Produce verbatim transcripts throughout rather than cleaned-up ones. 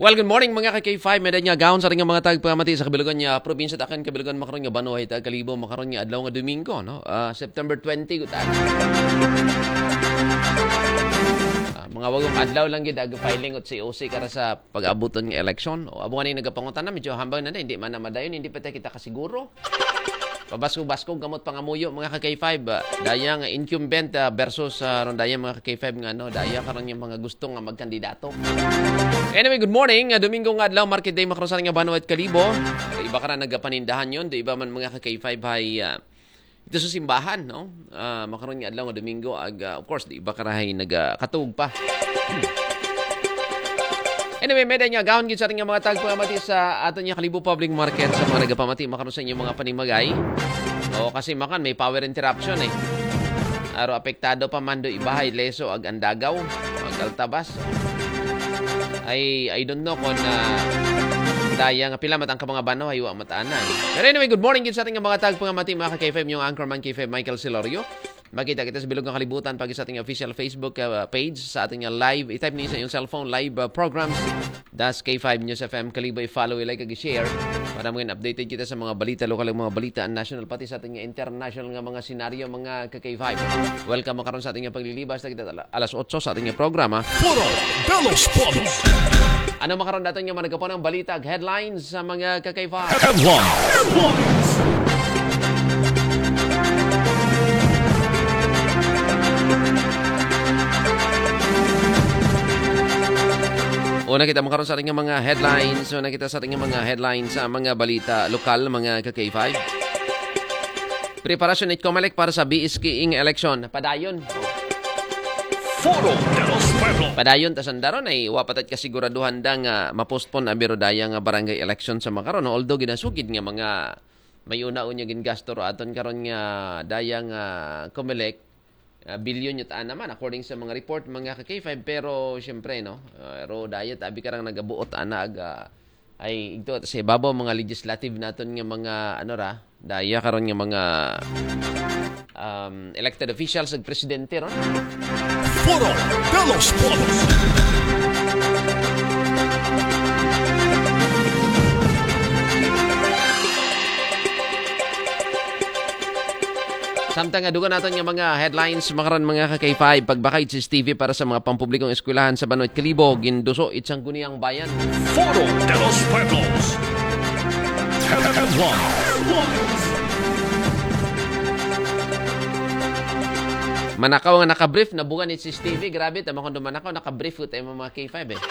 Well, good morning, mga ka-K five. May nga gahon sa ating mga tagpamati sa kabilugan niya, probinsya, takan kabilugan, makaron nga banwa, ita Kalibo, makaron nga adlaw nga Domingo, no? Ah, September twenty, good time. Ah, mga wagong adlaw lang gid ag filing ot C O C kara sa pag-abuton nga eleksyon. O, abuhan ni nagapangutan na, medyo hambang na na, hindi man na madayon, hindi pa tayo kita kasiguro. Pabaskog-baskog gamot pangamuyo, mga ka-K five. Ah, daya nga incumbent, ah, versus, ah, ron daya, mga ka-K five, nga, ano, daya karon yung mga gusto nga magkandidato. Anyway, good morning. Ah, Domingo nga adlaw, market day, makaron sa nga banwa it Kalibo. Iba ka na nagapanindahan yon, di iba man, mga ka-K five, hay, ah, ito sa simbahan, no? Ah, makaron nga adlaw nga Domingo, ag, ah, of course, di iba ka rahay nagakatug pa. Anyway, may nga gahon gid sa ating mga tagpamati sa aton nga Kalibo Public Market, sa mga nagapamati makaron sa inyong mga panimagay. O, kasi makan may power interruption eh. Aro apektado pa man do ibahay, Leso, ag Andagaw, ag Altabas. I, I don't know kung, ah, daya nga pila matang ka mga bano, haywa mataanan. Pero anyway, good morning gid sa ating mga tagpamati, mga ka-K five, yung anchorman K five, Michael Silorio. Makita kita sa bilog nga kalibutan pag sa ating official Facebook, ah, page, sa ating, ah, live. I-type niyo sa inyong cellphone, live, ah, programs. Das K five News F M Kalibo, i-follow, i-like, ag i-share para mga updated kita sa mga balita, lokal nga mga balita, national, pati sa ating international nga mga senaryo, mga ka-K five. Welcome makaron sa ating paglilibas na kita ala-, alas otso sa ating programa. Foro de los Pueblos. Ano makaron daton nga mga nagkapunang balita, headlines sa mga ka-K five? Headlines. Una kita makaron sa ating mga headlines. Una kita sa ating mga headlines sa mga balita lokal, mga ka-K five. Preparasyon it Comelec para sa B S K ing election. Padayon. Foro de los Pueblos. Padayon, ta sandaron ay wapatat kasiguraduhan da nga mapostpone a biro daya nga barangay election sa makaron. Although ginasugid nga mga may una unya gingasto ro aton karon nga daya nga Comelec, ah, bilyon yut ana man, according sa mga report, mga ka-K five, pero siyempre, no, ah, ro daya tabi karang nagabuot ana aga ay igto sa ibabaw mga legislative naton nga mga ano ra, daya karon nga mga, um, elected officials ag presidente ron. Foro de los Pueblos. Samtang nga dugan naton nga mga headlines makaron, mga ka-K five, pagbakay C C T V para sa mga pampublikong eskwelahan sa Banwa it Kalibo, ginduso it Sangguniang Bayan. Foro de los Pueblos. Headlines. Manakaw nga nakabrief, nabugan it C C T V. Grabe, tama kung manakaw, nakabrief ko tayo mga K five eh.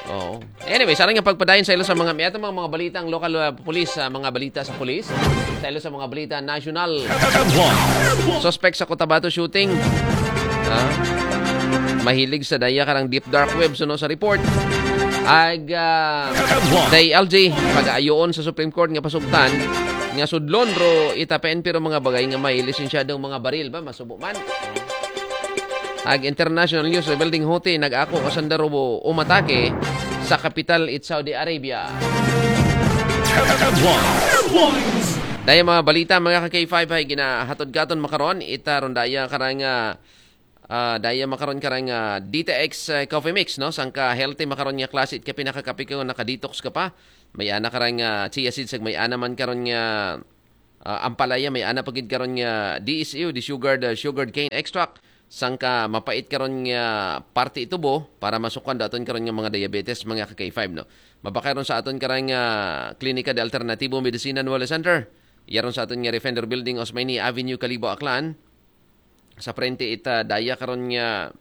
Oo. Anyway, sa nga pagpadayon sa ilo sa mga, may atong mga, mga balitang lokal, uh, pulis, uh, mga balita sa pulis. Sa ilo sa mga balita national. Suspect sa Cotabato shooting. Ah, mahilig sa daya karang deep dark web, suno sa report. Ag, ah, day L G, pag-aayoon sa Supreme Court nga pasugtan nga sudlon ro ita P N P ro mga bagay nga may lisensyadong mga baril ba, masubo man. Ag international news, rebelde Houthi nag-ako kasanda ro umatake sa kapital it Saudi Arabia. Headlines. Daya mga balita, mga ka-K five, ay ginahatod katon makaron, ita ron daya karang, ah, ah, daya makaron karang, ah, D T X, ah, Coffee Mix, no? Sangka healthy makaron nga klase it kape, nakakape ka, naka-detox ka pa. May ana karang, ah, chia seeds, ag may ana man karon nga, ah, ampalaya, may ana pagid karon nga D S U, desugared, ah, sugared cane extract. Sangka mapait karon nga parte itubo para masukan daton karon nga mga diabetes, mga ka-K five, no? Mabakay ron sa aton karang, ah, Klinika de Alternativo Medicina Nueva Center. Yaron sa aton nga Refender Building, Osmeña Avenue, Kalibo, Aklan. Sa frente ita daya karon nga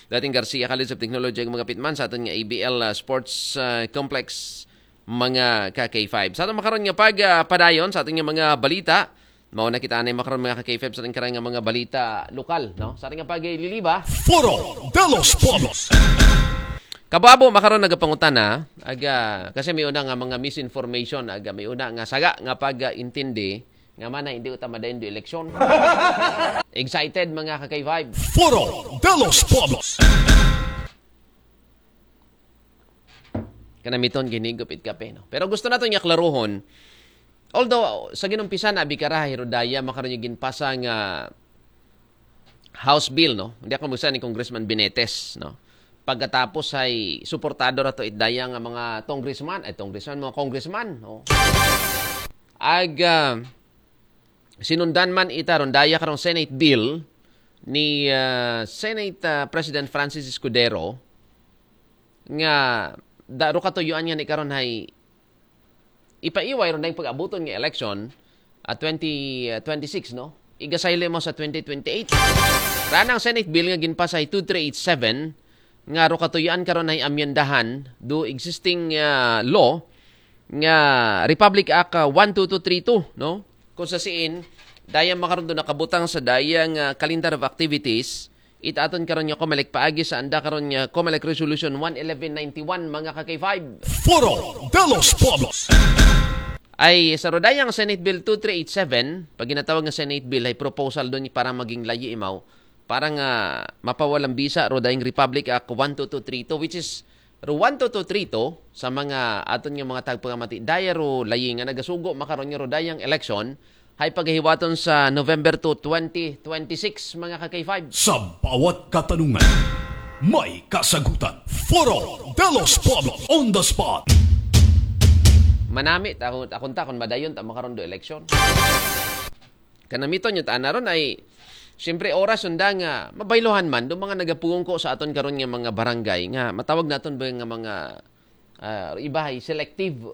dating Garcia College of Technology ang mga pitman sa aton nga A B L, ah, Sports, ah, Complex, mga ka-K five. Sa aton makaron nga pag, ah, padayon sa aton nga mga balita, mao na kita anay makaron, mga ka-K five, sa aton karang nga mga balita lokal, no? Sa aton nga pagliliba. Foro de los Pueblos. Kababo makaron nagapangutana, aga, kasi may una nga mga misinformation, aga, may una nga saga nga pag-intindi, nga mana hindi uta madayon do eleksyon. Excited, mga ka-K five. Foro de los Pueblos. Kanamiton ginigop it kape, no? Pero gusto naton nga klaruhon, although sa ginumpisan abi kara, hirodaya makaron yung ginpasa nga House Bill, no? Hindi ako magsa ni Congressman Benetes, no? Pagkatapos ay suportado ra to it daya nga mga congressman, ay congressman, mga congressman, no? Ag ah, sinundan man ita ron daya karong Senate bill ni ah, Senate ah, President Francis Escudero nga da, ro katuyuan nga ni karon hay ipaiway ron dayong pag-abuton nga election at twenty twenty-six, no? Igasaylo mo sa twenty twenty-eight. Ranang Senate bill nga ginpasa ay two three eight seven nga ro katuyuan karon ay amyendahan do existing ah, law nga Republic Act ah, one two two three two, no? Kung sa siin, daya makaron do nakabutang sa daya nga calendar of activities, it aton karon nga COMELEC paagi sa anda karon nga COMELEC Resolution one eleven ninety-one, mga ka-K five. Foro de los Pueblos. Ay sa rodayang Senate Bill two three eight seven, pag ginatawag nga Senate Bill, ay proposal doon para maging layi imaw, para nga mapawalang bisa rodayang Republic Act one two two three two, which is ro one two two three two sa mga aton nga mga tagpangamati. Daya ro layi nga nagasugo makaron nga rodayang election, hay pagahiwaton sa November two, twenty twenty-six, mga ka-K five. Sa bawat katanungan, may kasagutan. Foro de los Pueblos on the spot. Manami, takon, takon ta kung madayon ta makaron do election. Kanamiton yun, ana ron ay, siyempre, oras sunda nga mabaylohan man do mga nagapungko sa aton karon nga mga barangay nga matawag naton ba nga mga ah, iba ay selective.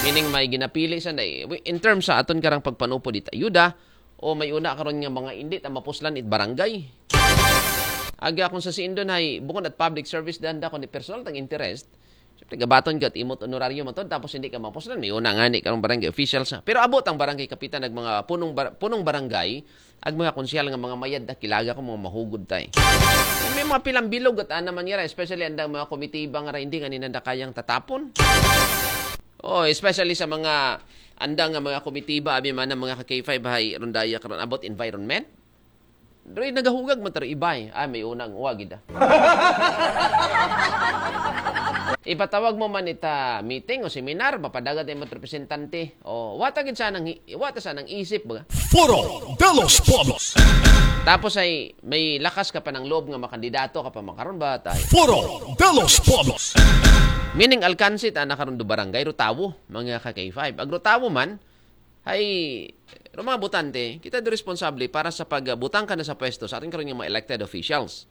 Meaning may ginapili sa na, in terms sa aton karang pagpanupod it ayuda, o may una karon nga mga indi ta mapuslan it barangay. Aga kung sa siindon ay bukod at public service dan da kung personal tang interest, siyempre gabaton ka at imot honoraryo matod tapos hindi ka mapuslan, may una nga ni karong barangay officials na. Pero abot ang barangay kapitan nag mga punong bar- punong barangay, ag mga konsyal nga mga mayad na kilaga ko mga mahugod tay. May mga pilang bilog at ana man yara, especially andang mga komitiba nga ra hindi nga ninanda kayang tatapon. Oh, especially sa mga andang nga mga komitiba, abi man ang mga ka-K five hay rondaya karon about environment. Doy nagahugag man taro ibay. Ay, may unang uwag ida. Ipatawag mo man ita meeting o seminar, mapadagat ay mga representante. O, wata gid sanang hi- wata sanang isip ba? Foro de los Pueblos. Tapos ay may lakas ka pa ng loob nga makandidato ka pa makaron ba tay? Foro de los Pueblos. Meaning alkansi ta na karon do barangay ro tawo, mga ka K five. Ag ro tawo man, hay ro mga botante, kita do responsable para sa pagbutang ka na sa pwesto sa atin karon nga mga elected officials.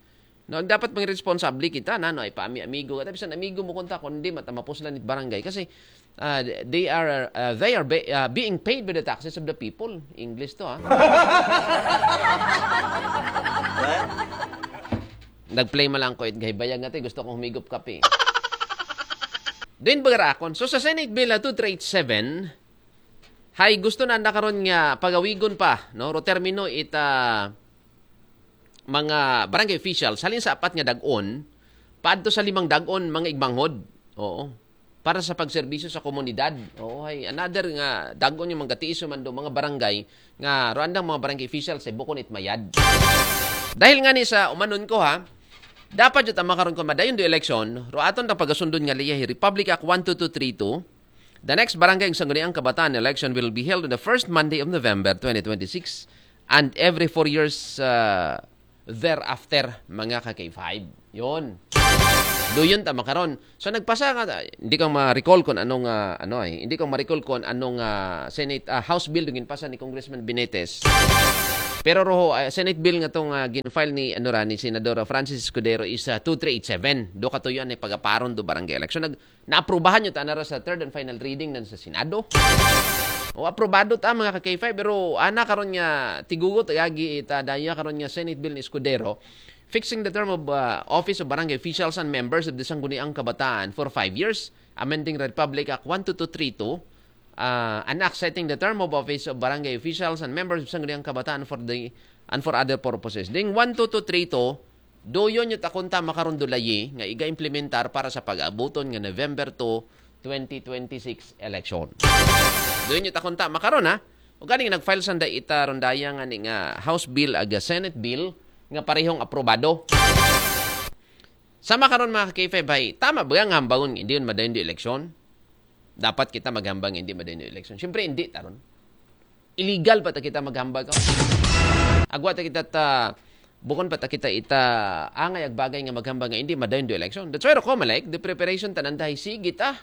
No, dapat maging responsable kita na no ay paami amigo. Kata bisan amigo mo kunta kung hindi mata mapuslan it barangay kasi ah, they are ah, they are be- ah, being paid by the taxes of the people. English to ha. Nag-play man lang ko it gaybayag nga gusto kong humigop kape. Din bagarakon. So sa Senate Bill na two three eight seven, hay gusto na anda karon nga pagawigon pa no ro termino ita mga barangay officials halin sa apat nga dagon paadto sa limang dagon mga igmanghod. Oo. Para sa pagserbisyo sa komunidad. Oo, hay another nga dagon yung mga tiiso man do mga barangay nga ro andang mga barangay officials ay bukon it mayad. Dahil nga ni sa umanon ko ha, dapat jud tama karon ko madayon do election, ro aton ta pagasundon nga liyahi Republic Act one two two three two. The next Barangay Sangguniang Kabataan election will be held on the first Monday of November twenty twenty-six and every four years uh, thereafter, mga ka K five. Yun. Do yun tama karon. So nagpasa ka, hindi ko ma-recall kung anong ah, ano ay, hindi ko ma-recall kung anong ah, Senate ah, House bill yung ginpasa ni Congressman Benitez. Pero roho, ah, Senate bill nga tong ah, gin-file ni ano ra, ni Senador Francis Escudero is ah, two three eight seven. Do katuyoan ni pagaparon do barangay election. Nag naaprubahan nyo ta na ra sa third and final reading nan sa Senado. O aprobado ta mga ka K five, pero ana karon nga tigugot agi ita daya karon nga Senate bill ni Escudero fixing the term of uh, office of barangay officials and members of the Sangguniang Kabataan for five years, amending Republic Act one two two three two, uh, an act setting the term of office of barangay officials and members of Sangguniang Kabataan for the and for other purposes. Ding one two two three two, doyon yung takunta makaron dulayi nga iga-implementar para sa pag-abuton nga November two, twenty twenty-six election. Doyon yung takunta makaron ha. O ganing nag-file sanda ita rondaya nga ni nga House bill aga Senate bill nga parehong aprobado. Sama karon mga ka K five hay, tama ba nga hambangon nga hindi yun madayon di eleksyon? Dapat kita maghambang nga hindi madayon di eleksyon. Siyempre hindi taron. Illegal pa ta kita maghambang ka. Agwa ta kita ta Bukon pa ta kita ita angay ag bagay nga maghambal nga hindi madayon do election. That's why ro COMELEC, the preparation tanan dahi sige ta.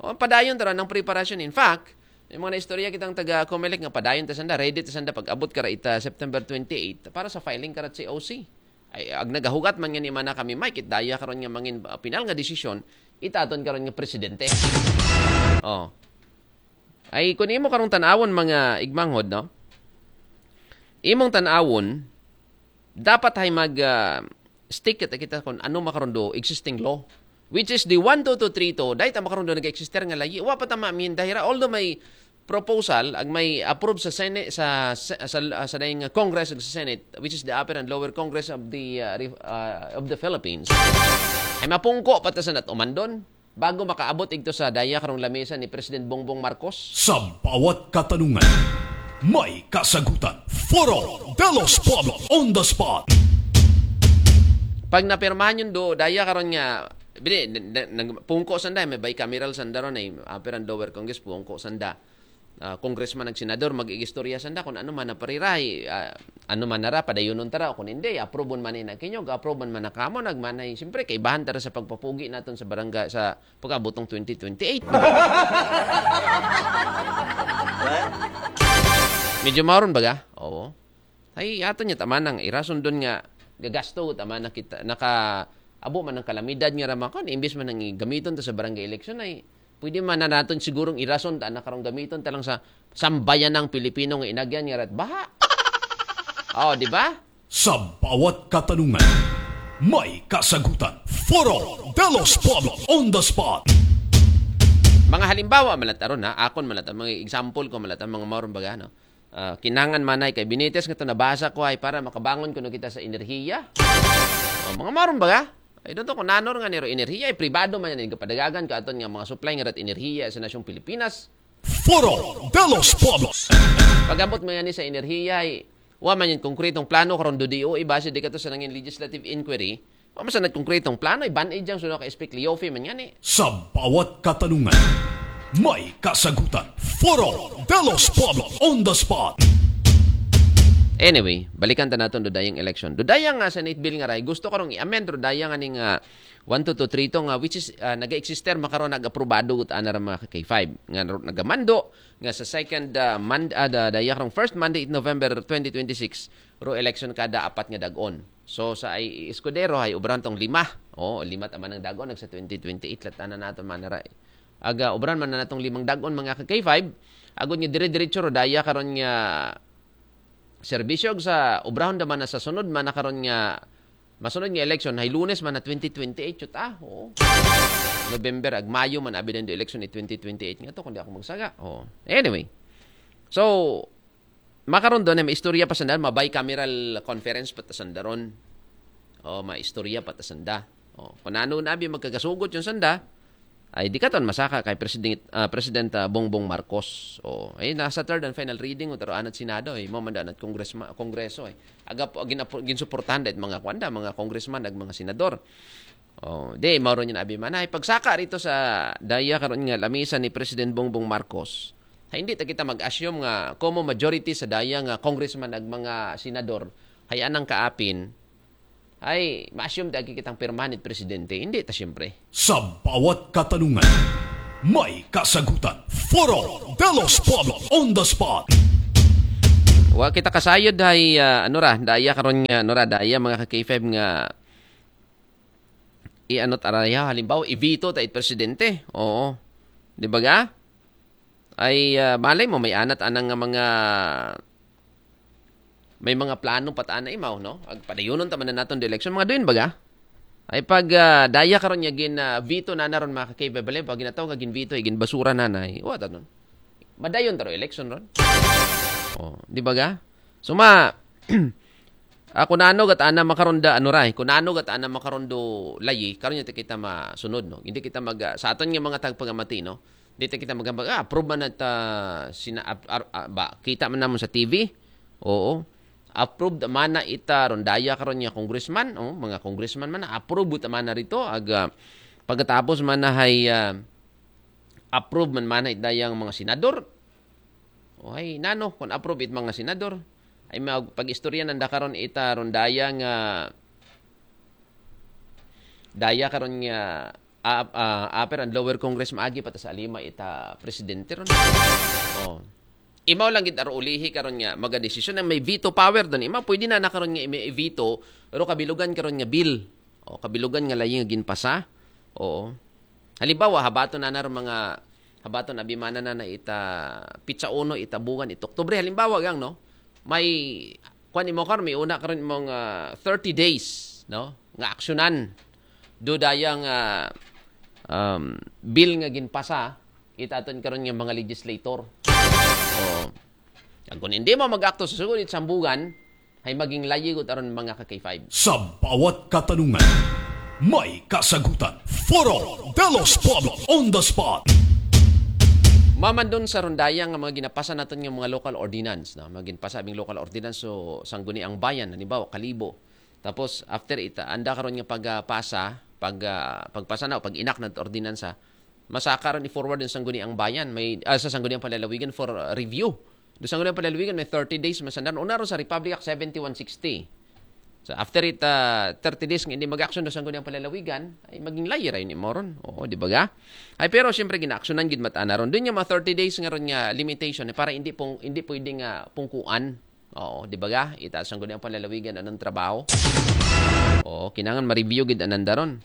O, padayon ta ron ang preparasyon. In fact, may mga naistorya kitang taga COMELEC nga padayon ta sanda, ready ta sanda pag-abot kara ita September twenty-eight para sa filing kara C O C. Ay, ag nagahugat man nga ni mana kami, Mike, it daya karon nga mangin uh, pinal nga desisyon, itaton karon nga presidente. Oh. Ay, kung imo karong tanawon, mga igmanghod, no? Imong tanawon, dapat hay mag uh, stick kita, kita kung ano makarondo existing law, which is the one two two three two, dahil ta makarondo nag-exister nga layi. Wa pa tama min dahira, although may proposal ag may approve sa Senate, sa sa, sa, sa dayong Congress ug sa Senate, which is the upper and lower Congress of the uh, re- uh, of the Philippines, ay mapungko pa ta sa nat umandon bago makaabot igto sa daya karong lamesa ni President Bongbong Marcos. Sa bawat katanungan, may kasagutan. Foro de los Pueblos on the spot. Pag napirmahan yun do, daya karon nga, bili, n- n- nagpungko sanda, may bicameral sanda ron, ay upper and lower Congress, pungko sanda. Ah, congressman ag senador, mag-igistorya sanda kung ano man na parirahi, ah, ano man nara, padayunon tara, o kung hindi, approve man na kinyog, approve man na kamo, nagmanay, siyempre, kaibahan tara sa pagpapugi naton sa barangay, sa pagkabutong twenty twenty-eight. Medyo maron baga? Oo. Ay, ato niya tama nang irason doon nga gagasto, tama na kita, naka, abo man ang kalamidad nga ramakon, imbis man ang gamiton ta sa barangay election ay, pwede man na naton sigurong irason ta na karong gamiton ta lang sa sambayan ng Pilipino nga inagyan nga rat baha. Oh, di ba? Sa bawat katanungan, may kasagutan. Foro de los Pueblos on the spot. Mga halimbawa, malataron ha, akon malataron, mga example ko malataron, mga maron baga, no? Ah, kinangan manay kay Benitez nga to nabasa ko ay para makabangon kuno kita sa enerhiya. Oh, mga maron baga? Ay, doon to, kung nanor nga niro enerhiya, ay pribado man yan, padagagan ka aton nga mga supply nga rat enerhiya sa nasyong Pilipinas. Foro de los Pueblos. Pagambot mo yan sa enerhiya, ay, wa man yung konkretong plano karon do D O A, base di ka to sa nangin legislative inquiry, wa man sa nagkonkretong plano, iban ijang suno ka Speak Leofi man yan eh. Sa bawat katanungan, may kasagutan. Foro de los Pueblos on the spot. Anyway, balikan ta naton do dayang election. Do dayang nga Senate bill nga ray, gusto karong i-amend do dayang aning uh, one two two three two nga which is uh, naga-exister makaron nag-aprobado gut ana ra mga K five nga ro- nagamando nga sa second uh, Monday, uh, da, daya karong first Monday in November twenty twenty-six, ro election kada apat nga dagon. So sa ay Escudero ay ubran tong lima. Oh, lima tama nang dagon nagsa twenty twenty-eight latana nato manara. Aga ubran man na natong limang dagon mga ka K five. Agud nga dire-diretso ro daya karon nga serbisyo sa ubrahon da man na sa sunod man na karon nga masunod nga election hay Lunes man na twenty twenty-eight yut ah. Oo. November ag Mayo man abi do election ni twenty twenty-eight nga to kundi ako magsaga. Oh. Anyway. So makaron do na may istorya pa sanda, ma bicameral conference pa ta sanda ron. Oh, ma istorya pa ta sanda. Oh, kung ano na abi magkagasugot yung sanda, ay di ka ton masaka kay President ah, President ah, Bongbong Marcos. Oh, ay nasa third and final reading o taro anat Senado eh, mo man anat Congress Kongreso eh. Aga po gin ginsuportahan dahil mga kwanda, mga congressman, ag mga senador. Oh, di mao ron yung abi man ay pagsaka rito sa daya karon nga lamisa ni President Bongbong Marcos. Ay, hindi ta kita mag-assume nga como majority sa daya nga congressman ag mga senador hay anang kaapin ay ma-assume ta agi kitang permanent presidente. Hindi ta siyempre. Sa bawat katanungan, may kasagutan. Foro de los Pueblos on the spot. Wa kita kasayod hay ah, ano ra, daya karon nga ano ra, daya mga ka K five nga i-ano ta raya, halimbawa i-veto ta it presidente. Oo. Di ba ga? Ay ah, malay mo may anat anang nga mga may mga plano pat ana imaw, no? Ag padayunon ta man na naton do election mga duin baga. Ay pag ah, daya karon niya gin ah, veto na naron mga kakay babali pag ginataw nga gin veto ay gin basura na na. Wa ta nun. Madayon taro election ron. Oh, di ba ga? So ma Ako na ano gat ana makaron da ano ray, kung ano gat ana makaron do layi, karon niya kita masunod no. Hindi kita mag ah, sa aton nga mga tagpagamati no. Di ta kita magambag ah, approve man at ah, sina ap- ar- ah, ba kita man namon sa T V. Oo. Approved man na ita ron daya karon nga congressman, oh, mga congressman man na approve ta man na rito ag ah, pagkatapos man na hay ah, approve man man na ita yang mga senador. Oh, hay nano kung approve it mga senador. Ay mag-, pag-istorya nanda karon ita ron daya nga, daya karon nga, ah, ah, upper and lower Congress maagi pa ta sa lima ita presidente ron. Oh. Imaw lang gid aro ulihi karon nga magadesisyon na may veto power don. Imaw pwede na na karon nga may veto, pero kabilugan karon nga bill. O kabilugan nga layi nga ginpasa. Oo. Halimbawa, habaton na na ron mga, habaton abimana na na ita pitsa uno, ita buwan, ita Oktubre. Halimbawa gang, no? May, kuan imo karon, may una karon imong ah, thirty days, no? Nga aksyonan. Do dayang ah, um, bill nga ginpasa, ita aton karon nga mga legislator. Oo. Ang kung hindi mo mag-akto sa sugod it sambugan, ay maging layi gud aron mga ka K five. Sa bawat katanungan, may kasagutan. Foro de los Pueblos on the spot. Mamandon sa rondaya nga mga ginapasa naton nga mga local ordinance, no? Mga ginpasa abing local ordinance, so Sangguniang Bayan, halimbawa, Kalibo. Tapos after ita, anda karon nga pagpasa, pag ah, pagpasa na o pag-enact na ordinansa, masaka ron i-forward din Sangguniang Bayan, may ah, sa Sangguniang Panlalawigan for ah, review. Do Sangguniang Panlalawigan may thirty days masandan. Una ron sa Republic Act seventy-one sixty. So after it ah, thirty days nga hindi mag-action do Sangguniang Panlalawigan, ay maging layi ra yun imo ron. Oo, di ba ga? Ay pero siyempre ginaaksyonan gid mata na ron. Doon nga mga thirty days nga ron nga limitation eh, para hindi pong hindi pwede nga pungkuan. Oo, di ba ga? Ita Sangguniang Panlalawigan anong trabaho? Oo, kinangan ma-review gid ananda ron.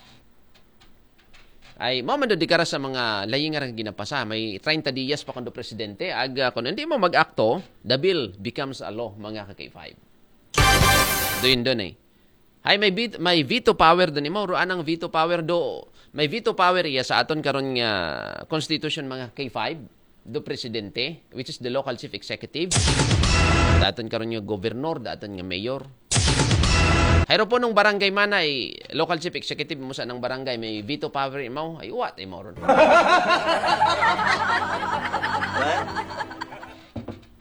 Ay, mao man do di kara sa mga layi nga ra ginapasa. May treinta diyas pa kundo presidente. Ag, ah, kung hindi mo mag-akto, the bill becomes a law, mga ka K five. Doon doon eh. Hay, may, vet- may veto power doon imo. Ruan ang veto power do. May veto power iya sa aton karon nga constitution, mga K five. Do presidente, which is the local chief executive. Daton karon nga governor, daton nga mayor. Hayro po nung barangay man ay local chief executive mo sa nang barangay may veto power imaw, ay uwat imaw ron.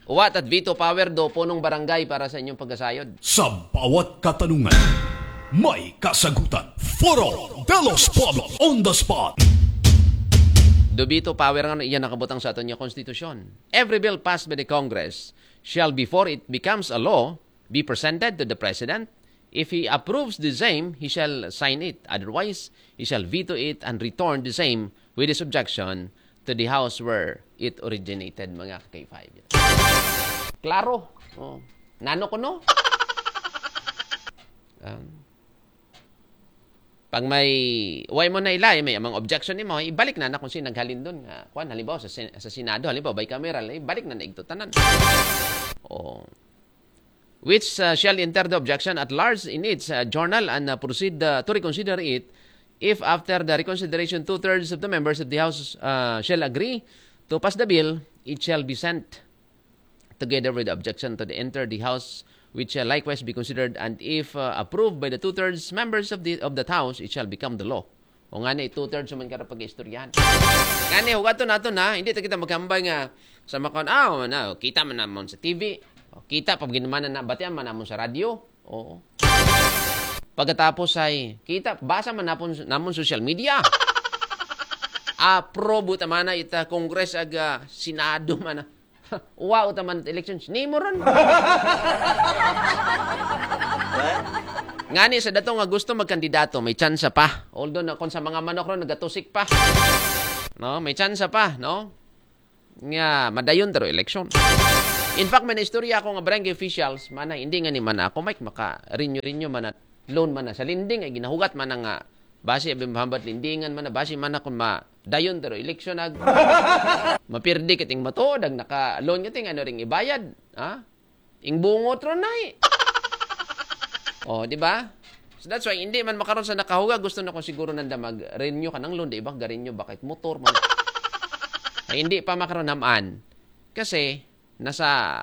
Uwat at veto power do po nung barangay para sa inyong pagkasayod. Sa bawat katanungan, may kasagutan. Foro de los Pueblos on the spot. Do veto power nga iyan nakabutang sa aton nga konstitusyon. Every bill passed by the Congress shall, before it becomes a law, be presented to the President. If he approves the same, he shall sign it. Otherwise, he shall veto it and return the same with his objection to the House where it originated, mga K five. Klaro. Oh. Nano ko, no? Um, pag may, way mo na ilay, may amang objection nimo, ibalik na na kung sino naghalin doon. Nga, kwan, halimbawa, sa, sen- sa Senado, halimbawa, bicameral, ibalik na na igto tanan. Oh. Which uh, shall enter the objection at large in its uh, journal and uh, proceed uh, to reconsider it. If after the reconsideration, two-thirds of the members of the House uh, shall agree to pass the bill, it shall be sent together with the objection to the enter the House, which shall likewise be considered, and if uh, approved by the two-thirds members of the of that House, it shall become the law. O nga ni, two-thirds man ka pag-istoryahan. Nga ni, hugaton nato na, hindi ta kita maghambay nga sa makon, ah, oh, na, kita man namon sa T V, o, kita pa ginaman na, batian man namon sa radyo. Oo. Pagkatapos ay, kita, basa man napon, namon social media. Aprobo ta man na ita Congress aga Senado man na. Wow, ta man elections. Nimo ron. Ngani sa dato nga gusto magkandidato, may tsansa pa. Although na kung sa mga manok ron nagatusik pa. No, may tsansa pa, no? Nga madayon taro eleksyon. In fact, may naistorya ako nga barangay officials, mana hindi nga ni mana ako, Mike, maka-renew-renew mana loan mana sa lending ay ginahugat mana nga basi abi mahambat lendingan mana basi mana kun ma dayon taro eleksyon ag mapirdi kating matuod ag naka-loan kating ano ring ibayad, ha? Ing bungot ron nay. Oh, di ba? So that's why hindi man makaron sa nakahuga gusto na ko siguro nanda mag-renew ka ng loan, di ba? Ga-renew ba kahit motor man. Ay, hindi pa makaron naman. Kasi nasa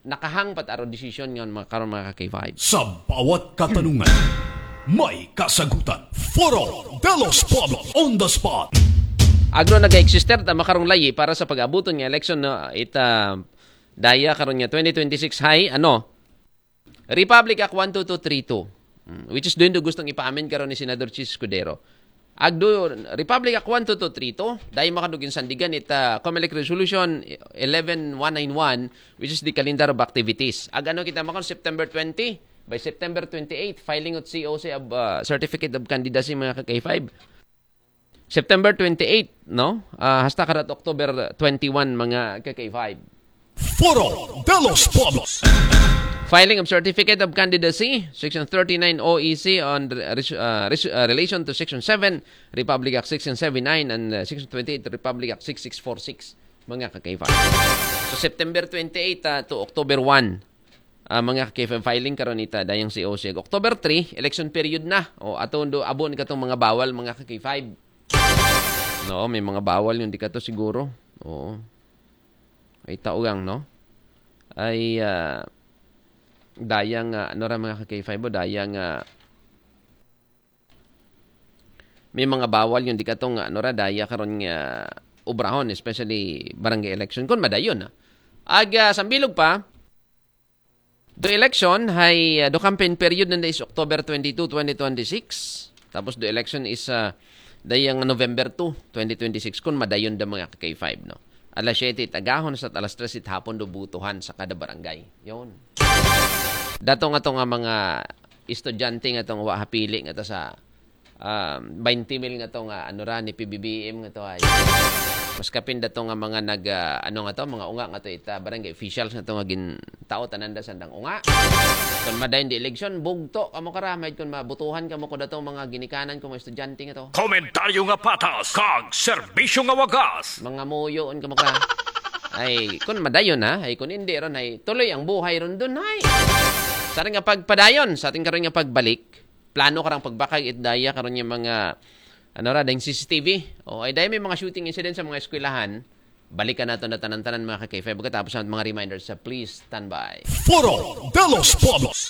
nakahang pat aro desisyon nga makaron mga ka-K five. Sa bawat katanungan, may kasagutan. Foro de los Pueblos on the spot. Agro nag-exister ta makarong layi para sa pag-abuton nga election no ita daya karon nga twenty twenty-six hay ano Republic Act one two two three two, mm, which is doon do gustong ipa-amend karon ni Senador Chiz Escudero. Agdo Republic Act one two two three two, dai makadugin sandigan ita Comelec Resolution eleven one nine one, which is the calendar of activities. Ag ano kita makon September twenty, by September twenty-eight, filing of C O C of uh, Certificate of Candidacy, mga ka-K five. September twenty-eight, no? Ah, hasta karat October twenty-one, mga ka-K five. Foro de los Pueblos. Filing of Certificate of Candidacy, Section thirty-nine O E C on re- res- uh, res- uh, relation to Section seven, Republic Act six six seven nine, and uh, Section twenty-eight, Republic Act six six four six, mga ka-K five. So, September twenty-eight uh, to October one, uh, mga ka-K five, filing karon ita, dayang C O C. October three, election period na. O, ato do, abo ni katong mga bawal, mga ka-K five. No, may mga bawal yung di kato siguro. Oo. Ay, taugang, no? Ay, ah, dayang, ah, ano ra, mga ka-K five, o, dayang, ah, may mga bawal yung di katong, ano ra, daya karon nga obrahon, especially barangay election. Kung madayon, ah. Ag, ah, sambilog pa, the election, hay, ah, the campaign period nanda is October twenty-two, twenty twenty-six. Tapos the election is, ah, dayang November two, twenty twenty-six. Kung madayon da mga ka-K five, no? Alas siyete it agahon sa alas tres it hapon do butuhan sa kada barangay. Yon. Dato nga to nga mga estudyante nga tong wa hapili nga to sa um, twenty mil nga to nga ano ra ni P B B M nga to ay. Mas kapin dato nga mga nag ah, ano nga to, mga unga nga to ita barangay officials nga to nga gin tao tanan da sandang unga. Kung madayon di eleksyon, bugto kamo kara, may kung mabutuhan kamo ko datong mga ginikanan ko mga estudyante nga to. Komentaryo nga patas, kag serbisyo nga wagas. Mga muyoon kamo kara. Ay, kung madayon ha, ay kung hindi ron ay tuloy ang buhay ron dun ay. Sa ating nga pagpadayon, sa ating karon nga pagbalik, plano karang pagbakag it daya karon nga mga ano ra, dayang C C T V. O, ay dahil may mga shooting incident sa mga eskwelahan, balikan nato na tanan-tanan mga ka-K five pagkatapos ng mga reminders sa please stand by. Foro de los Pueblos.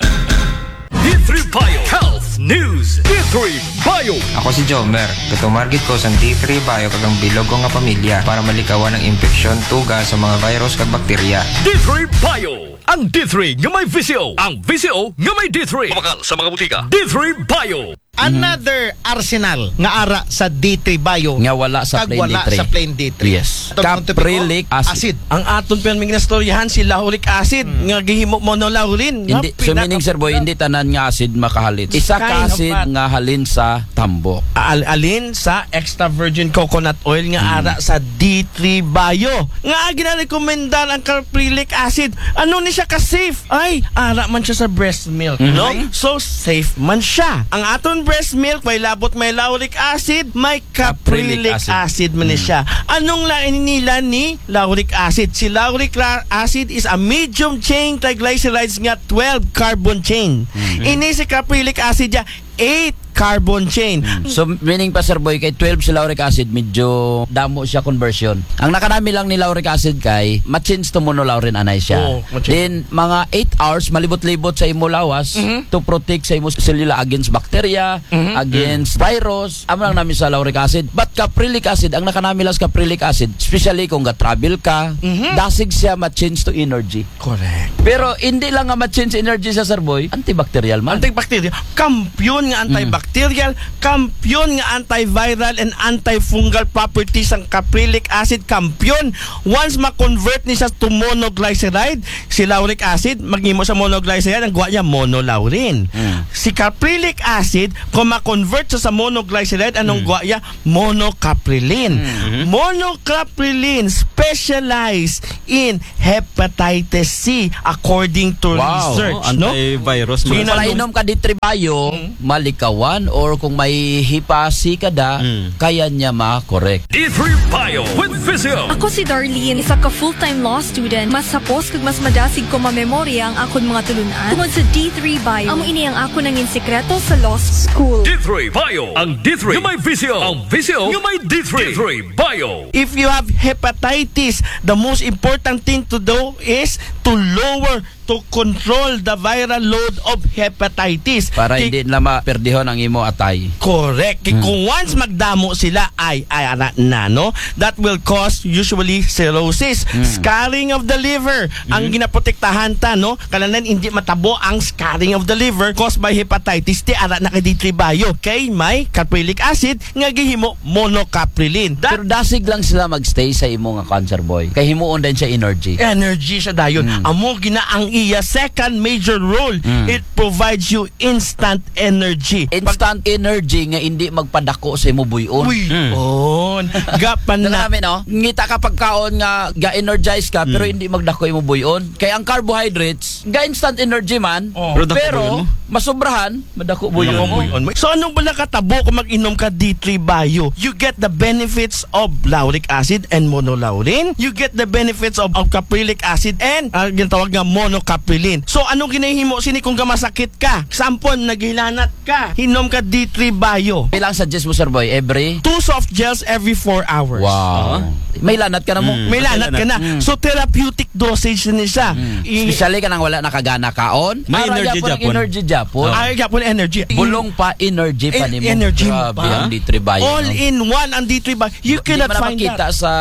D three Bio Health News. D three Bio. Ako si Jomer. Gatumargit ko sa D three Bio kag ang bilog ko nga pamilya para malikawan ang impeksyon, tuga sa mga virus kag bakterya. D three Bio. Ang D three nga may V C O. Ang V C O nga may D three. Mabakal sa mga butika. D three Bio. Another arsenal nga ara sa D three Bio. Nga wala sa kag plain wala D three. Sa plain D three. Yes. Tawag mo to, Caprylic acid. Acid. Ang aton pirming nastoryahan si lauric acid nga gihimo monolaurin. Hindi, nga so meaning, pinaka- Sir Boy, hindi tanan nga acid makahalin. Isa ka acid nga halin sa tambok. Al- alin sa extra virgin coconut oil nga ara sa D three Bio. Nga ginarekomendar ang caprylic acid. Ano ni siya ka safe? Ay, ara man siya sa breast milk, no? So safe man siya. Ang aton breast milk may labot may lauric acid, may caprylic acid man ni siya. Anong lain nila ni lauric acid? Si lauric la- acid is a medium chain triglycerides nga twelve carbon chain. Ini si caprylic acid ya eight carbon chain. So, meaning pa, Sir Boy, kay twelve si lauric acid, medyo damo siya conversion. Ang nakanami lang ni lauric acid kay ma-change to monolaurin anay siya. Oo, ma-change. Then, mga eight hours, malibot-libot sa imo lawas to protect sa imo selula against bacteria, against virus. Amo lang nami sa lauric acid. But caprylic acid, ang nakanami lang sa caprylic acid, especially kung ga-travel ka, dasig siya ma-change to energy. Correct. Pero hindi lang nga ma-change energy sa, Sir Boy, antibacterial man. Antibacterial. Kampiyon nga antibacterial, kampiyon nga antiviral and antifungal properties ang caprylic acid. Kampiyon. Once ma-convert ni siya to monoglyceride, si lauric acid, maghimo sa monoglyceride, ang guwa niya monolaurin. Si caprylic acid, kung ma-convert sa, sa monoglyceride, anong guwa niya? Monocaprilin. Monocaprilin specialized in hepatitis C according to research, no? Antivirus. Kung palainom ka D three Bio, malikawan, or kung may hipa C ka da, kaya niya ma-correct. D three Bio with Physio. Ako si Darlene, isa ka full-time law student. Mas hapos kag mas madasig ko mamemorya ang akon mga tulunan tungod sa D three Bio. Amo ini ang akon nangin sikreto sa law school. D three Bio. Ang D three nga may Physio. Ang Physio nga may D three. D three Bio. If you have hepatitis, the most important thing to do is to lower to control the viral load of hepatitis. Para hindi na maperdihon ang imo atay. Correct. Kay kung once magdamo sila, ay, ay, ara na, no? That will cause usually cirrhosis, scarring of the liver. Ang ginaprotektahan ta, no? Kananan hindi matabo ang scarring of the liver caused by hepatitis, ti ara na kay D three Bio. Kay may caprylic acid nga gihimo monocaprilin. That Pero dasig lang sila magstay sa imo nga cancer, boy. Kay himuon din siya energy. Energy siya dayon. Amo gina ang iya second major role. It provides you instant energy. Instant energy nga hindi magpadako sa imo buyon. Uy, on. Gapan Dala na. namin, no? Ngita ka pagkaon nga ga-energize ka, pero hindi magdako imo buyon. Kay ang carbohydrates, ga-instant energy man, Oh. Pero dako pero buyon mo. Masobrahan, madako buyon mo. So anong bala katabo kung mag-inom ka D three Bio? You get the benefits of lauric acid and monolaurin. You get the benefits of, of caprylic acid and uh, ginatawag nga monocaprilin. So anong ginahimo sini kung gamasakit ka? Sampon, naghilanat ka. Hinom ka D three Bio. Pila ang suggest mo, Sir Boy? Every? Two soft gels every four hours. Wow. May lanat ka na mo. May lanat ka na. So therapeutic dosage ni siya. I- Especially ka nang wala nakagana kaon. May Ara energy gyapon ang gyapon. Energy gyapon. Ay, gyapon energy. Bulong pa, energy pa En- nimo. energy Grabe pa. ang D three Bio. All No? in one ang D three Bio. You Di cannot man find makita that. Sa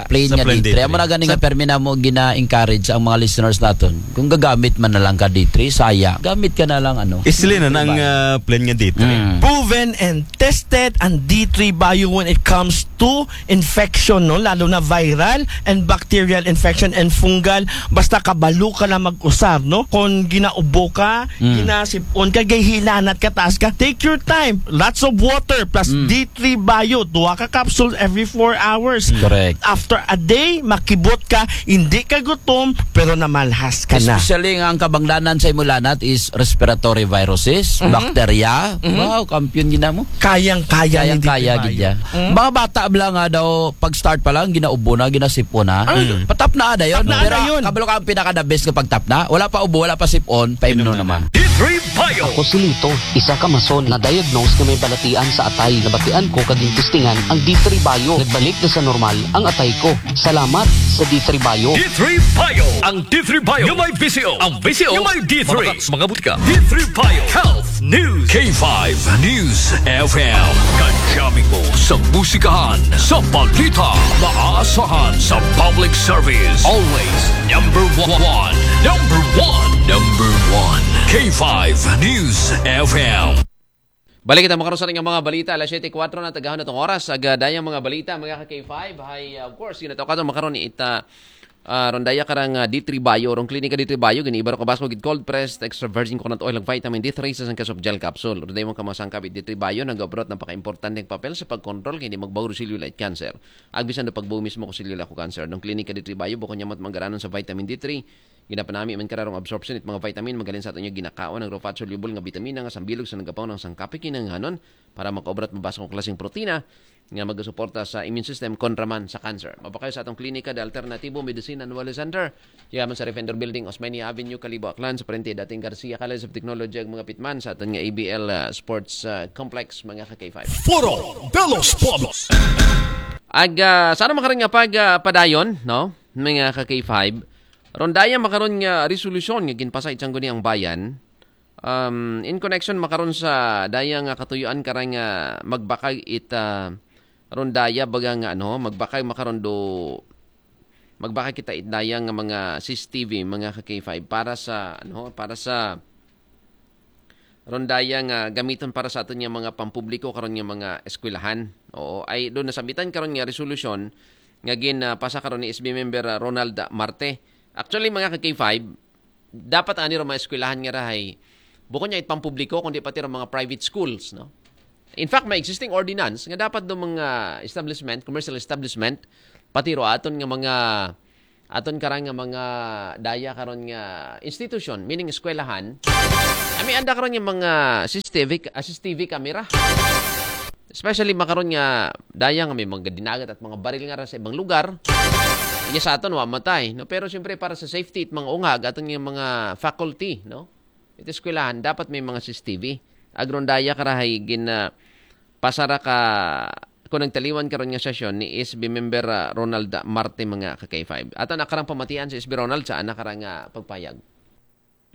plain Sa nga plain D three. D three. Amo na gani nga permi na mo gina-encourage ang mga listeners naton. Kung gagamit man na lang ka D three, saya. Gamit ka na lang ano. Isli na ng uh, plain nga D three. Mm. Proven and tested ang D three Bio when it comes to infection, no? Lalo na viral and bacterial infection and fungal. Basta kabalo ka na mag-usar, no? Kung ginaubo ka, ginasipon ka, gahilanat ka, taas ka, take your time. Lots of water plus D three Bio. Duha ka capsule every four hours. Correct. After a day, makibot ka, hindi ka gutom, pero namalhas ka na. Especially nga ang kabangdanan sa imo lanat is respiratory viruses, bacteria. Wow, kampiyon gina mo. Kayang-kaya ni Kayang-kaya D three gid ya. Bio. Mga bata bala nga daw pag-start pa lang ginaubo na, ginasipon na. Patap na ada yon. Patap na Pero ada yon. Kabalo ka ang pinaka the best nga pagtap na. Wala pa ubo, wala pa sipon, painom naman. Ako si Lito, isa ka mason na diagnose nga may balatian sa atay. Nabatian ko kag testingan ang D three Bio. Nagbalik na sa normal ang atay ko. Salamat sa D three Bio. D three Bio. Ang D three Bio nga may bisyo. Ang bisyo nga may D three. Mabakas mga butika. D three Bio. Health News. K five News F M. Kadyamin mo sa musikahan, sa balita, maaasahan sa public service. Always number one. Number one. Number one. K five News F M. Balik kita makaron sa ating mga balita. Alas siyete kuwatro na, tagahon na tong oras. Aga dayang mga balita, mga ka K five. Hay, uh, of course, ginataw ka makaron ni ita, uh, rondaya karang uh, D three Bio, rong klinika D three Bio, giniiba ro ka basko gid cold pressed extra virgin coconut oil, ag vitamin D three sa sangka soft gel capsule. Rondaya mo ka mga sangkap D three Bio, nagabrot ng paka-importante ng papel sa pagkontrol kay hindi magbago silyo light cancer. Agbisan do pagbuo mismo ko silyo lako cancer. Rong klinika D three Bio, bukon niya mat manggaranon sa vitamin D three, Ginapanami man kararong absorption it mga vitamin magalin sa aton nga ginakaon, ang raw fat soluble nga bitamina nga sambilog sa nagapaw ng sangkapi kinahanglanon para makaobra at mabasa kong klaseng protina nga magasuporta sa immune system kontra man sa cancer. Mapakayo sa atong klinika de Alternativo Medicine and Wellness Center. Yaman sa Refender Building, Osmeña Avenue, Kalibo, Aklan, sa parente dating Garcia College of Technology, ang mga pitman sa aton nga A B L uh, Sports uh, Complex, mga ka K five. Foro de los Pueblos. Ag uh, sana makaring nga pag uh, padayon, no? Mga ka K five, Rondaya makaron nga resolusyon nga ginpasa it Sangguniang Bayan, um, in connection makaron sa daya nga katuyuan karang nga magbakag it ah, rondaya baga nga ano, magbakag makaron do magbakag kita it daya nga mga C C T V, mga ka K five para sa ano, para sa rondaya nga gamiton para sa aton nga mga pampubliko karon nga mga eskwelahan. Oo, ay do nasambitan karon nga resolusyon nga gin ah, pasa karon ni S B member ah, Ronald Marte. Actually, mga ka K five, dapat ani ro mga eskwelahan nga rahay bukon niya it pampubliko kundi pati ro mga private schools, no? In fact, may existing ordinance nga dapat do mga establishment, commercial establishment, pati ro aton nga mga aton karang nga mga daya karon nga institution, meaning eskwelahan. Ami anda karon nga mga C C T V, ah, C C T V camera. Especially makaron nga daya nga may mga dinagat at mga baril nga ra sa ibang lugar. Iya sa aton wa matay, no? Pero siyempre para sa safety it mga ungag aton nga mga faculty, no? It eskwelahan dapat may mga C C T V. Ag rondaya karahay gin ah, pasara ka kung nagtaliwan karon nga sesyon ni S B member ah, Ronald Marte mga ka K five. Ato na karang pamatian si S B Ronald sa ana karang ah, pagpayag.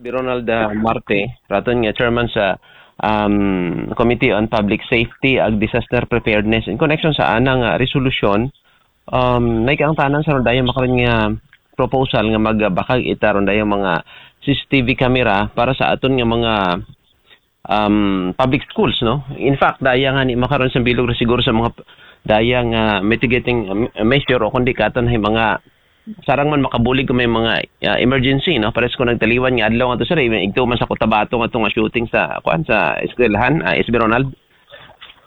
Bi Ronald, ah, Marte, raton nga chairman sa, um, Committee on Public Safety ag Disaster Preparedness, in connection sa anang, ah, resolusyon, um, naay kaangtanan sa ron dayang makaron nga proposal nga magbakag ita ron dayang mga C C T V camera para sa aton nga mga, um, public schools, no? In fact, daya ngani makaron sa bilog ra siguro sa mga dayang, ah, mitigating, um, measure o kundi katon hay mga sarang man makabulig kung may mga, ah, emergency, no? Pares ko nagtaliwan nga adlaw nga to, sir, even igto man sa Cotabato nga to nga shooting sa, kuan, sa eskwelahan, ah, S B Ronald?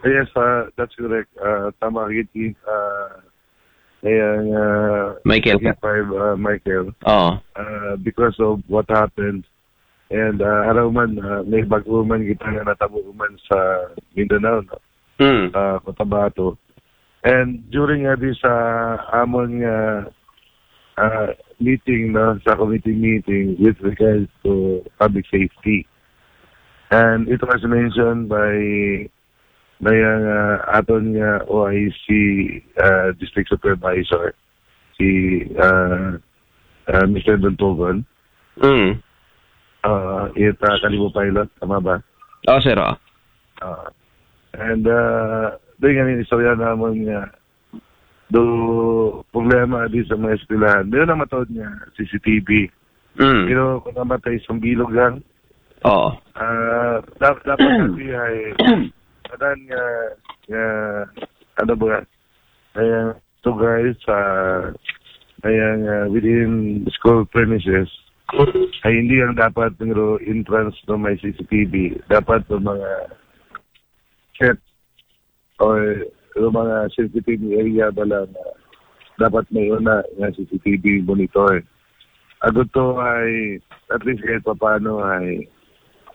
Yes, uh, that's correct. Uh, tama ka gid, uh, ayan, uh, Michael ka. Five, uh, Michael. Oo. Uh, because of what happened, and uh, haraw man, uh, may bago man kita nga natabo man sa Mindanao, no? Mm. Uh, Cotabato. And during nga di sa amon nga uh, meeting, no, sa committee meeting with regards to public safety. And it was mentioned by, by ang uh, aton nga O I C, uh, District Supervisor, si uh, uh, Mister Duntugon. Mm. Uh, it uh, Kalibo Pilot, tama ba? Oh, sir, oh. Uh, and uh, doon nga yung istorya naman nga do problema di sa mga eskwelahan. Doon na mataod nga C C T V. Mm. Pero kung namatay isang bilog lang, Oo. ah, dap- dapat natin ay kadan nga, nga ano ba nga, ay ang lugar sa ay ang ah, within school premises ay hindi ang dapat pero entrance ng may C C T V. Dapat ng mga set or yung mga sensitive area ba lang na dapat may una nga C C T V monitor. Ago to ay at least kahit paano ay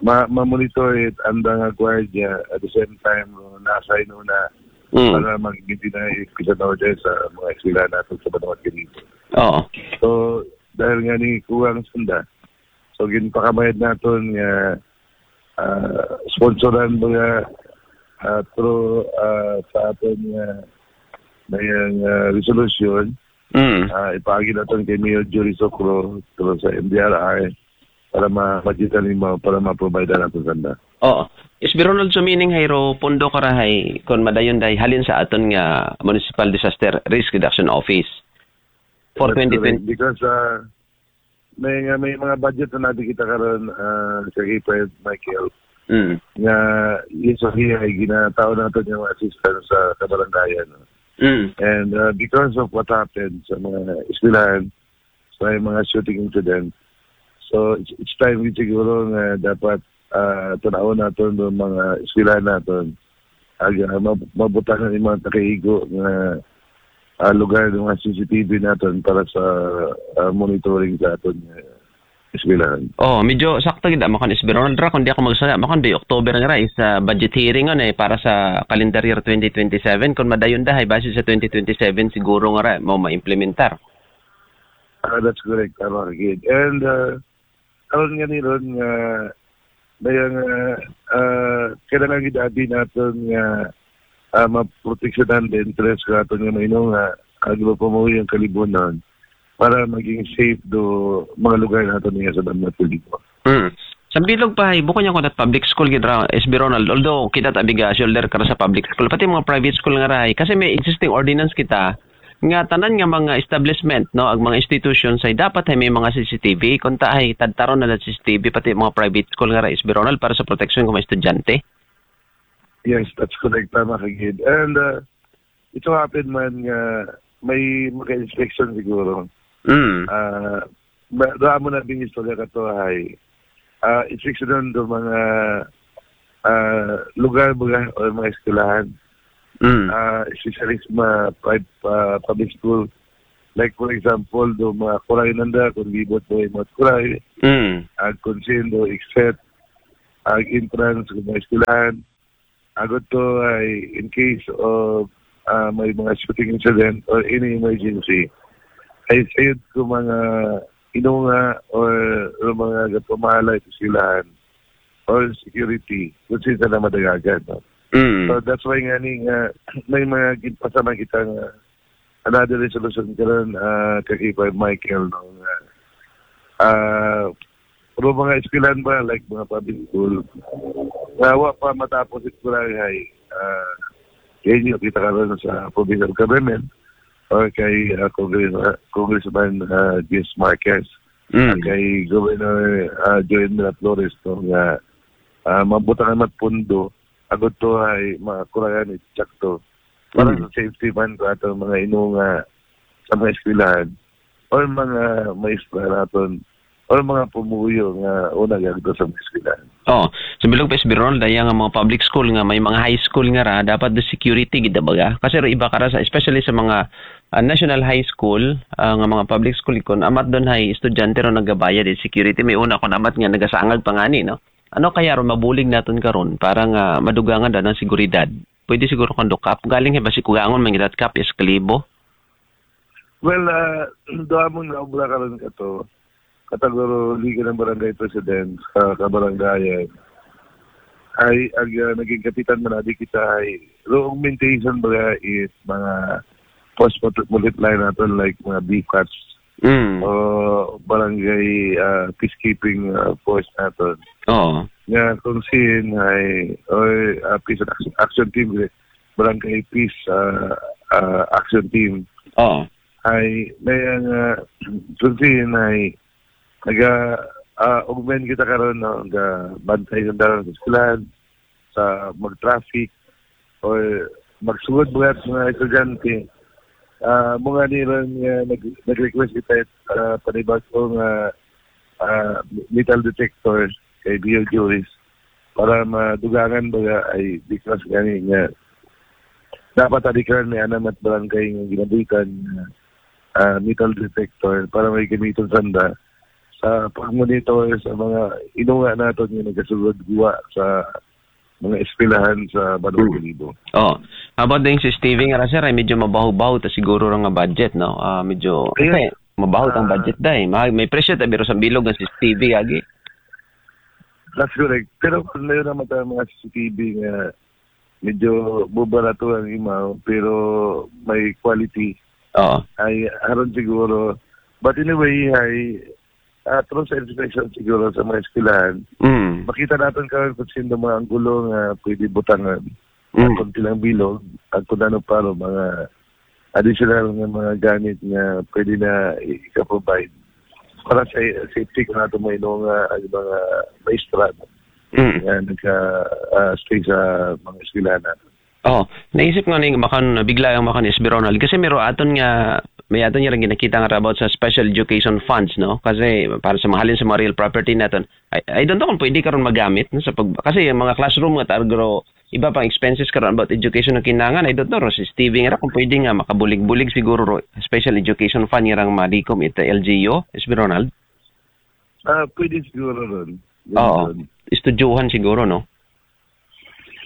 ma- ma-monitor it ang nga gwardiya at the same time uh, na-assign una Mm. para mag-maintain peace and order sa mga eskwela natin sa Banwat Kalibo. Oo. So, dahil nga ni kuwang sanda, so ginpakamayad naton nga ah, sponsoran mga ah, through ah, sa aton nga ngayang ah, resolution, Mm. ah, ipaagi naton kay Mayor Jory Socro through sa M D R R para ma-budgetan nimo para ma-provide naton sanda. Oo. S B Ronald, so meaning hayro pondo kara hay kon madayon day halin sa aton nga Municipal Disaster Risk Reduction Office for That's twenty twenty. correct. Because ah, may nga may mga budget na natin kita karon ah, sa K five Michael Mm. nga usually ay ginatao natin yung assistance sa kabarangayan. No? Mm. And uh, because of what happened sa mga eskwelahan, sa may mga shooting incident, so it's, it's time din siguro nga dapat uh, tanawon natin ng mga eskwelahan natin ag uh, mab- mabutangan yung mga takaigo nga uh, lugar ng mga C C T V natin para sa uh, monitoring sa atin uh, eskwelahan. Oh, medyo sakto gid makon S B Ronald ra, kung di ako magsala, makon di October nga ra is uh, budget hearing on eh para sa calendar year twenty twenty-seven, kung madayon dahay base sa twenty twenty-seven siguro nga ra mo ma-implementar. Ah, that's correct, tama ka gid. And uh, aron nga ni ron nga dayang uh, uh, kailangan gid abi naton nga uh, maproteksyonan the interest sa aton nga mainong nga agro pamuhi ang kalibunan para maging safe do mga lugar nato niya sa Banwat Kalibo. Mm. Sa bilog pa hay, bukod niya ko that public school gid ra S B Ronald, although kita ta biga shoulder kara sa public school, pati mga private school nga ra hay, kasi may existing ordinance kita nga tanan nga mga establishment, no, ang mga institutions ay dapat ay may mga C C T V, kung ta ay tadtaron na C C T V pati mga private school nga ra S B Ronald para sa proteksyon ng mga estudyante. Yes, that's correct, tama ka gid. And uh, ito happen man nga may maka-inspection siguro. Mm. Ah, ba- damo na din istorya ka to ay ah, inspection do mga ah, lugar mga o mga eskwelahan. Mm. Ah, especially sa mga private ah, public school. Like for example, do mga kuray nanda, kung libot mo yung mga kuray, Mm. ag kung sino, except ag entrance ng mga eskwelahan. Agot to ay in case of ah, may mga shooting incident or any emergency, ay sayod ko mga inunga or, or mga gapamahala sa eskwelahan or security kung sino na madagagan. No? Mm. So that's why nga ni nga may mga ginpasama kita nga another resolution karon uh, kakipay Michael no nga uh, pero mga eskwelahan ba, like mga public school, nga wa pa matapos it barangay, ah, kay inyo, kita karon sa provincial government or kay, ah, Congress-, Congressman, ah, Jess Marquez, ah, Mm. kay Governor, ah, Joel Miraflores, no, nga, ah, mabutangan mat pondo, agud to ay makurangan it sakto. Para Mm. sa safety man ko atong mga inunga sa mga eskwelahan or mga maestra naton or mga pumuyo nga una gagdo sa mga eskwelahan. Oh, sa bilog pa, S B Ronald, daya nga mga public school nga may mga high school nga ra, dapat the security gid, baga. Kasi ro iba ka ra sa, especially sa mga, ah, national high school, ah, nga mga public school, kung amat doon hay estudyante ro nagabayad it security, may una kung amat nga nagasangag pa ngani, no? Ano kaya ron mabulig naton karon para nga madugangan da ng seguridad? Pwede siguro kung do kap, galing hay basi kugangon man gid it kap, is kalibo. Well, ah, duha mo nga obra karon kato. Kategory ng barangay president, sa kabarangayan. Ay, ag, ah, naging kapitan man adi kita ay, ro augmentation ba is mga force multi-, multiplier naton, like mga B FATs Mm. o barangay, ah, peacekeeping, ah, force naton. Oo. Nga kung sin ay, or, ah, peace and action, action team, eh, barangay peace, ah, ah, action team. Oo. Ay, may ang, ah, kung sin ay, naga, ah, augment kita karon, no, ga bantay sa dalan sa eskwelahan, sa mag-traffic, o magsugod mga, mga estudyante. Ah, mga niron nga nag-, nag-request kita, ah, panibago nga, ah, metal detector kay Bio Juris para madugangan ba nga ay di class gani nga dapat adikran may anam at barangay nga ginabuhitan nga, ah, metal detector para may gamiton sanda sa pagmonitor sa mga inunga naton nga nagasugod guwa sa mga eskwelahan sa Banwa Kalibo. Oh, about din si Stevie nga ra, sir, ay medyo mabaho-baho ta siguro ra nga budget, no? Ah, medyo, Ayun. kasi mabaho tang Ah. budget dai. May, may presyo ta, pero sa bilog nga si Stevie agi. That's correct. Pero kung meron naman tayong mga C C T V nga medyo bubarato ang imaw, pero may quality. Oo. Ay, haron siguro. But anyway, ay, ah, through sa inspection siguro sa mga eskwelahan, Mm. makita natin karon kung sino mga anggulo nga pwede butangan. Mm. At kung silang bilog, at kung ano pa ro, mga additional nga mga gamit nga pwede na i-, ika-provide para sa safety ko nato mga inunga, ang mga maestra Mm. nga nagka, ah, stay sa mga eskwelahan nato. Oh, naisip nga ni, makan, bigla ang makan, S B Ronald. Kasi mero aton nga, may aton nga rin ginakita nga about sa special education funds, no? Kasi para sa mahalin sa mga real property naton, I, I don't know kung pwede karon magamit, no, sa pag, kasi yung mga classroom nga targro, iba pang expenses karon about education ang kinangan, I don't know, ro, si Stevie nga ra kung pwede nga makabulig-bulig siguro ro, special education fund nga rang malikom ita L G U, S B Ronald? Ah, pwede siguro ron. Oo. Ron. Estudyohan siguro, no?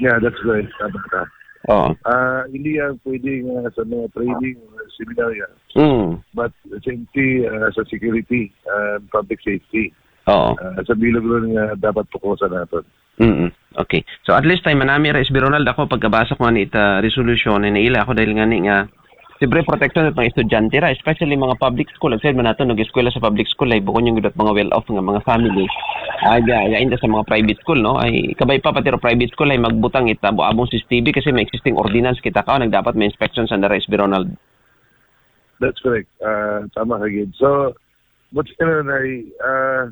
Yeah, that's right. Tama ka. Oo. Ah, hindi yan pwede nga sa mga training, mga seminar yan. Mm. But safety, ah, sa security, ah, public safety. Oo. Ah, sa bilog ron nga dapat tukusan naton. Mm. Okay. So at least time manami ra, S B Ronald, ako pagkabasa ko nga ni ita resolution, ay naila ako dahil nga ni nga siyempre protection sa mga estudyante ra, especially mga public school. Ang said man nato, nag-eskwela sa public school, ay bukon yung mga well-off nga mga family. Ay, ya, ya, inda sa mga private school, no? Ay, kabay pa, pati ra private school, ay magbutang ita, abong C C T V kasi may existing ordinance kita ka, nagdapat may inspection sa nara, S B Ronald. That's correct. Ah, tama ka, Gid. So, but still, ay, ah,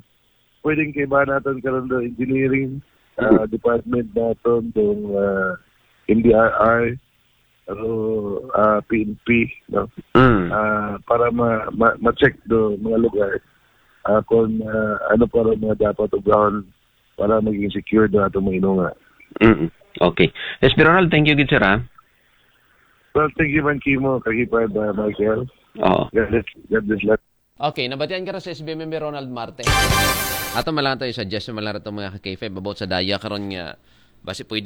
pwedeng kaibahan naton karon do engineering, ah, Mm. department naton, dong, ah, M D R R, ano, ah, P N P, no? Mm. Ah, para ma-, ma-, ma-check do mga lugar, ah, kung, ah, ano pa rin mga dapat ugrahon para maging secure do atong mga inunga. Mm. Okay. S B Ronald, thank you gid, sir, ha? Well, thank you man, Kimo, kag Ipad, ah, Michael. Oo. God bless, God bless lahat. Okay, nabatian ka ra sa S B member Ronald Marte. Ato malang tayo sa Jess, malang ra to mga ka-K five about sa daya karon nga basi pwede